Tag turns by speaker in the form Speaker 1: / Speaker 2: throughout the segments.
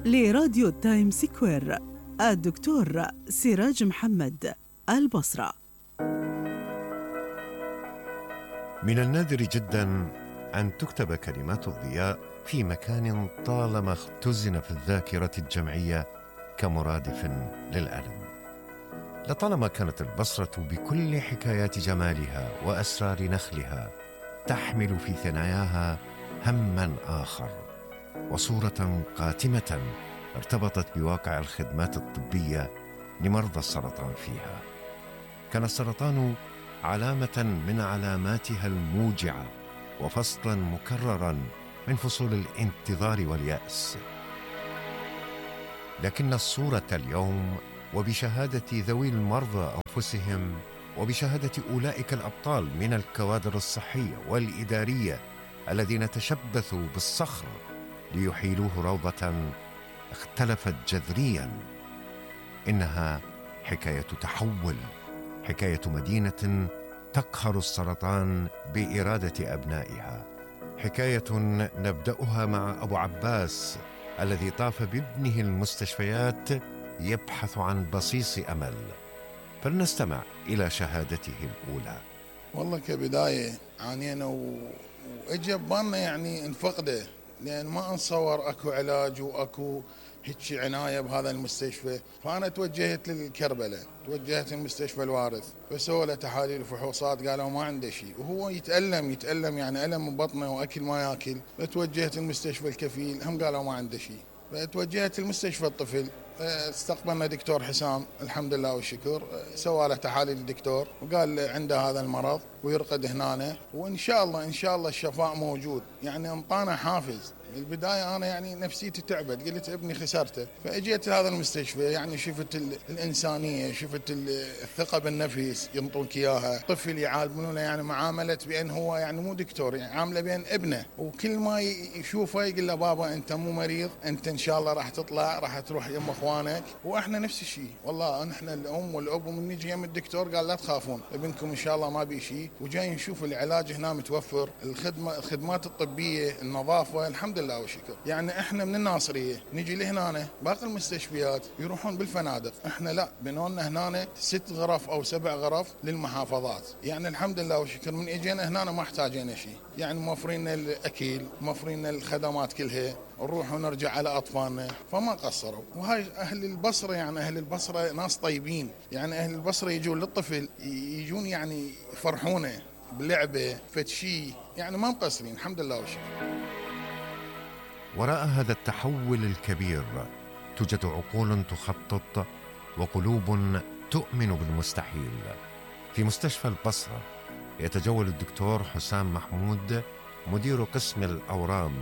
Speaker 1: لراديو تايم سكوير الدكتور سراج محمد، البصرة.
Speaker 2: من النادر جدا أن تكتب كلمات الضياء في مكان طالما اختزن في الذاكرة الجمعية كمرادف للألم. لطالما كانت البصرة بكل حكايات جمالها وأسرار نخلها تحمل في ثناياها هما آخر وصورة قاتمة ارتبطت بواقع الخدمات الطبية لمرضى السرطان فيها. كان السرطان علامة من علاماتها الموجعة وفصلا مكررا من فصول الانتظار واليأس. لكن الصورة اليوم وبشهادة ذوي المرضى أنفسهم وبشهادة أولئك الأبطال من الكوادر الصحية والإدارية الذين تشبثوا بالصخر ليحيلوه روضة اختلفت جذريا. إنها حكاية تحول، حكاية مدينة تقهر السرطان بإرادة أبنائها، حكاية نبدأها مع أبو عباس الذي طاف بابنه المستشفيات يبحث عن بصيص أمل. فلنستمع إلى شهادته الأولى.
Speaker 3: والله كبداية عانينا وإجى ببالنا يعني نفقده، لأن ما نصور أكو علاج وأكو هيك عناية بهذا المستشفى. فأنا توجهت للكربلة، توجهت للمستشفى الوارث، فسووا له تحاليل وفحوصات قالوا ما عنده شيء، وهو يتألم يعني ألم من بطنه وأكل ما يأكل. فتوجهت للمستشفى الكفيل، هم قالوا ما عنده شيء. فتوجهت لمستشفى الطفل، استقبلنا دكتور حسام الحمد لله والشكر، سوى له تحاليل الدكتور وقال عنده هذا المرض ويرقد هنا، وإن شاء الله الشفاء موجود. يعني انطانا حافز. بالبداية أنا يعني نفسيتي تعبت، قلت ابني خسرته. فأجيت هذا المستشفى، يعني شفت الإنسانية، شفت الثقة بالنفس ينطوك إياها. طفل يعاملونه يعني معاملة بأن هو يعني مو دكتور، يعني عامله بأن ابنه، وكل ما يشوفه يقول له بابا أنت مو مريض، أنت إن شاء الله راح تطلع، راح تروح يم أخوانك. وإحنا نفس الشيء والله، نحن الأم والأب ومن نجي يم الدكتور قال لا تخافون ابنكم إن شاء الله ما بي شيء، وجاي نشوف العلاج هنا متوفر، الخدمات الطبية، النظافة الحمد لله والشكر. يعني احنا من الناصرية نجي لهنا، باقي المستشفيات يروحون بالفنادق، احنا لا، بنولنا هنا 6 غرف او 7 غرف للمحافظات. يعني الحمد لله والشكر من اجينا هنا ما احتاجينا شيء، يعني موفرين الاكل، موفرين الخدمات كلها، نروح ونرجع على اطفالنا، فما قصروا. وهاي اهل البصرة، يعني اهل البصرة ناس طيبين، يعني اهل البصرة يجون للطفل يجون يعني يفرحونه بلعبة فتشي، يعني ما مقصرين الحمد لله والشكر.
Speaker 2: وراء هذا التحول الكبير توجد عقول تخطط وقلوب تؤمن بالمستحيل. في مستشفى البصرة يتجول الدكتور حسام محمود مدير قسم الأورام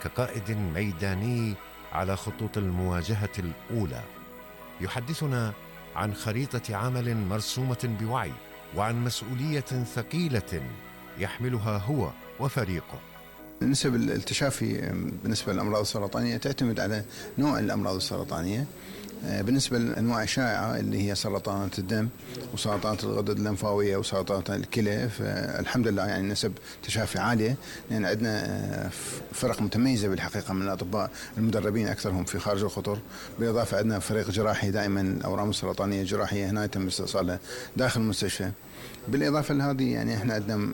Speaker 2: كقائد ميداني على خطوط المواجهة الأولى. يحدثنا عن خريطة عمل مرسومة بوعي وعن مسؤولية ثقيلة يحملها هو وفريقه.
Speaker 4: نسب التشافي بالنسبة للأمراض السرطانية تعتمد على نوع الأمراض السرطانية. بالنسبة للأنواع الشائعة اللي هي سرطانات الدم وسرطانات الغدد الليمفاوية وسرطانات الكلى، فالحمد لله يعني نسب تشافي عالية، لأن عندنا فرق متميزة بالحقيقة من الأطباء المدربين أكثرهم في خارج الخطر. بالإضافة عندنا فريق جراحي دائما الأورام السرطانية الجراحية هنا يتم استئصالها داخل المستشفى. بالإضافة لهذه يعني احنا عندنا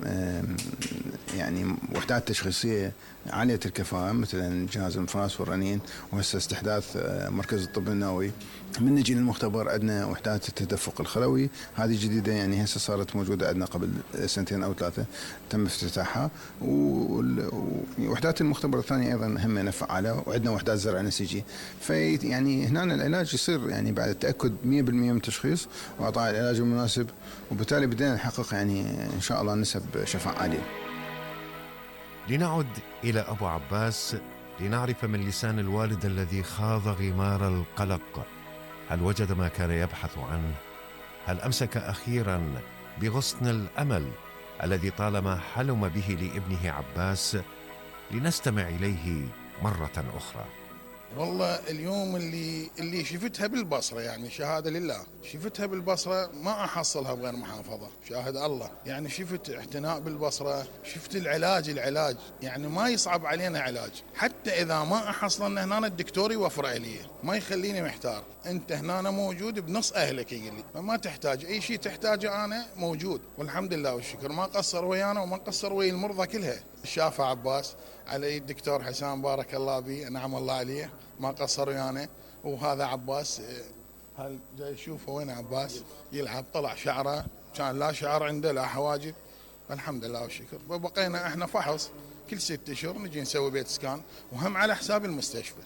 Speaker 4: يعني وحدات تشخيصية عالية الكفاءة، مثلا جهاز الانفاس والرنين، وهسه استحداث مركز الطب النووي. من نجي للمختبر عندنا وحدات التدفق الخلوي، هذه جديدة يعني هسه صارت موجودة عندنا قبل 2 أو 3 تم افتتاحها. ووحدات المختبر الثانية أيضا هم فعالة، وعندنا وحدات زرع نسيجي. في يعني هنا العلاج يصير يعني بعد التأكد 100% من التشخيص وإعطاء العلاج المناسب، وبالتالي بدنا نحقق يعني إن شاء الله نسب شفاء عالية.
Speaker 2: لنعد إلى أبو عباس لنعرف من لسان الوالد الذي خاض غمار القلق. هل وجد ما كان يبحث عنه؟ هل أمسك أخيرا بغصن الأمل الذي طالما حلم به لابنه عباس؟ لنستمع إليه مرة أخرى.
Speaker 3: والله اليوم اللي شفتها بالبصرة، يعني شهادة لله، شفتها بالبصرة ما أحصلها بغير محافظة، شاهد الله. يعني شفت اعتناء بالبصرة، شفت العلاج يعني ما يصعب علينا علاج، حتى إذا ما أحصلنا هنا الدكتور يوفر علي، ما يخليني محتار. أنت هنا موجود بنص أهلك يقول لي، فما تحتاج أي شيء تحتاجه أنا موجود، والحمد لله والشكر. ما قصر ويانا وما قصر ويا المرضى كلها. الشافع عباس علي الدكتور حسام بارك الله به، نعم الله عليه، ما قصر ويانا. وهذا عباس، هل جاي يشوفه وين عباس يلعب، طلع شعره كان لا شعر عنده لا حواجب، الحمد لله والشكر. وبقينا احنا فحص كل 6 أشهر نجي نسوي بيت سكان، وهم على حساب المستشفى.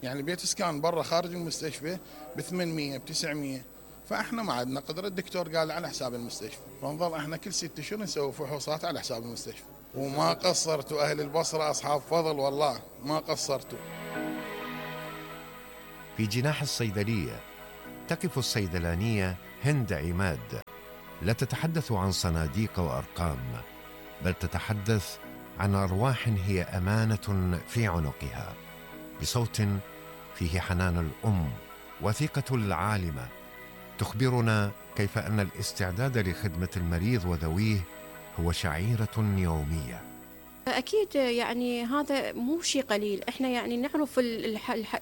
Speaker 3: يعني بيت سكان برا خارج المستشفى ب800 ب900، فاحنا ما عندنا قدره. الدكتور قال على حساب المستشفى، فنظل احنا كل 6 أشهر نسوي فحوصات على حساب المستشفى. وما قصرتوا أهل البصرة، أصحاب فضل والله ما قصرتوا.
Speaker 2: في جناح الصيدلية تقف الصيدلانية هند عماد، لا تتحدث عن صناديق وأرقام، بل تتحدث عن أرواح هي أمانة في عنقها، بصوت فيه حنان الأم وثقة العالمة، تخبرنا كيف أن الاستعداد لخدمة المريض وذويه هو شعيرة يومية.
Speaker 5: أكيد يعني هذا مو شيء قليل. إحنا يعني نعرف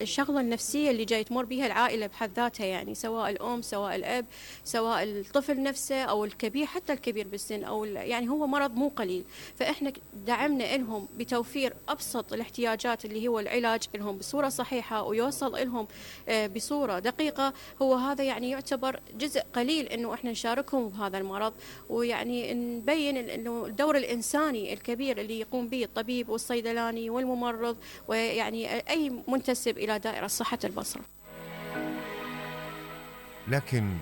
Speaker 5: الشغلة النفسية اللي جاي تمر بها العائلة بحد ذاتها، يعني سواء الأم سواء الأب سواء الطفل نفسه أو الكبير، حتى الكبير بالسن، أو يعني هو مرض مو قليل. فإحنا دعمنا لهم بتوفير أبسط الاحتياجات اللي هو العلاج لهم بصورة صحيحة ويوصل لهم بصورة دقيقة. هو هذا يعني يعتبر جزء قليل إنه إحنا نشاركهم بهذا المرض، ويعني نبين إنه الدور الإنساني الكبير اللي يقوم به الطبيب والصيدلاني والممرض، ويعني أي منتسب إلى دائرة صحة البصرة.
Speaker 2: لكن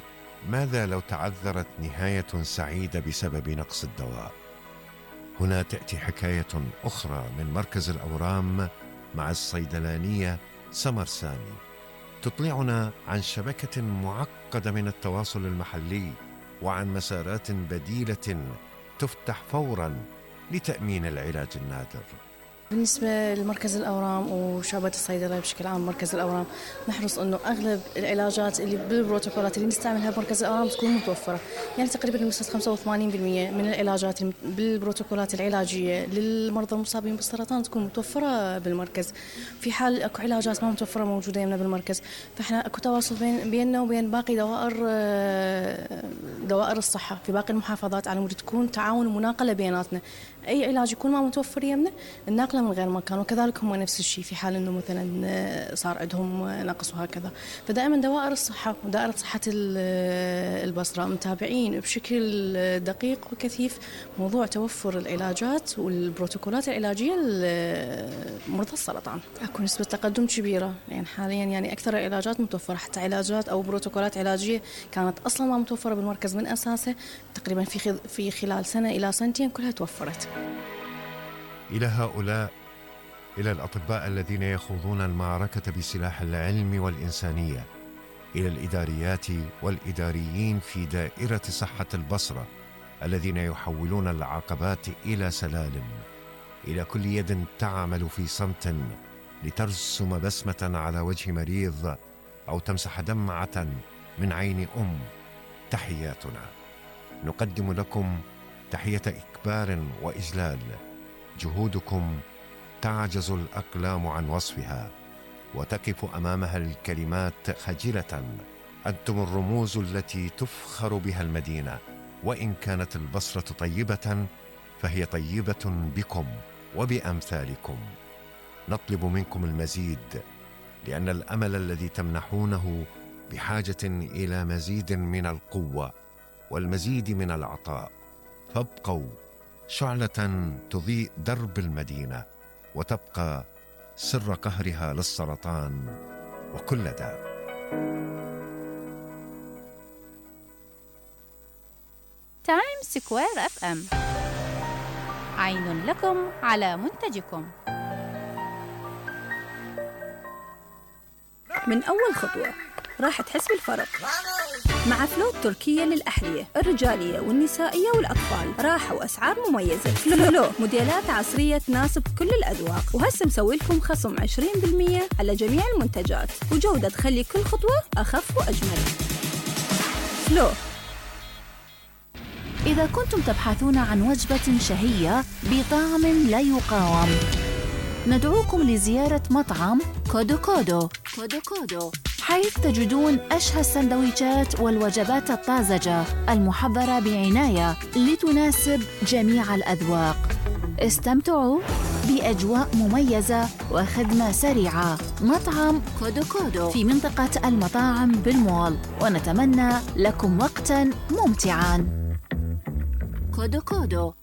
Speaker 2: ماذا لو تعذرت نهاية سعيدة بسبب نقص الدواء؟ هنا تأتي حكاية أخرى من مركز الأورام مع الصيدلانية سمر سامي، تطلعنا عن شبكة معقدة من التواصل المحلي وعن مسارات بديلة تفتح فوراً لتأمين العلاج النادر.
Speaker 6: بالنسبة لمركز الأورام وشعبة الصيدلة بشكل عام، مركز الأورام نحرص أنه أغلب العلاجات اللي بالبروتوكولات اللي نستعملها بمركز الأورام تكون متوفرة. يعني تقريبا بنسبة 85% من العلاجات بالبروتوكولات العلاجية للمرضى المصابين بالسرطان تكون متوفرة بالمركز. في حال أكو علاجات ما متوفرة موجودة يمنا بالمركز، فإحنا أكو تواصل بيننا وبين باقي دوائر الصحة في باقي المحافظات على مود تكون تعاون ومناقلة بيناتنا. أي علاج يكون ما متوفر يمنا الناقله من غير مكان، وكذلك هم نفس الشيء في حال انه مثلا صار عندهم نقص وهكذا. فدائما دوائر الصحه ودائره صحه البصره متابعين بشكل دقيق وكثيف موضوع توفر العلاجات والبروتوكولات العلاجيه لمرضى السرطان. اكو نسبه تقدم كبيره، يعني حاليا يعني اكثر العلاجات متوفره، حتى علاجات او بروتوكولات علاجيه كانت اصلا ما متوفره بالمركز من اساسه، تقريبا في خلال سنه الى سنتين كلها توفرت.
Speaker 2: إلى هؤلاء، إلى الأطباء الذين يخوضون المعركة بسلاح العلم والإنسانية، إلى الإداريات والإداريين في دائرة صحة البصرة الذين يحولون العقبات إلى سلالم، إلى كل يد تعمل في صمت لترسم بسمة على وجه مريض أو تمسح دمعة من عين أم، تحياتنا. نقدم لكم تحية إكبار وإجلال. جهودكم تعجز الأقلام عن وصفها، وتقف أمامها الكلمات خجلة. أنتم الرموز التي تفخر بها المدينة، وإن كانت البصرة طيبة فهي طيبة بكم وبأمثالكم. نطلب منكم المزيد، لأن الأمل الذي تمنحونه بحاجة إلى مزيد من القوة والمزيد من العطاء. فابقوا شعلة تضيء درب المدينة، وتبقى سر قهرها للسرطان وكل داء.
Speaker 7: تايم سكوير FM، عين لكم على منتجكم.
Speaker 8: من أول خطوة راح تحس بالفرق. مع فلو التركية للأحذية الرجالية والنسائية والأطفال، راحة وأسعار مميزة. فلو موديلات عصرية تناسب كل الأذواق، وهسه مسوي لكم خصم 20% على جميع المنتجات، وجودة تخلي كل خطوة أخف وأجمل. فلو.
Speaker 9: إذا كنتم تبحثون عن وجبة شهية بطعم لا يقاوم، ندعوكم لزيارة مطعم كودو كودو، حيث تجدون أشهى السندويشات والوجبات الطازجة المحضرة بعناية لتناسب جميع الأذواق. استمتعوا بأجواء مميزة وخدمة سريعة. مطعم كودو كودو في منطقة المطاعم بالمول، ونتمنى لكم وقتاً ممتعاً. كودو كودو.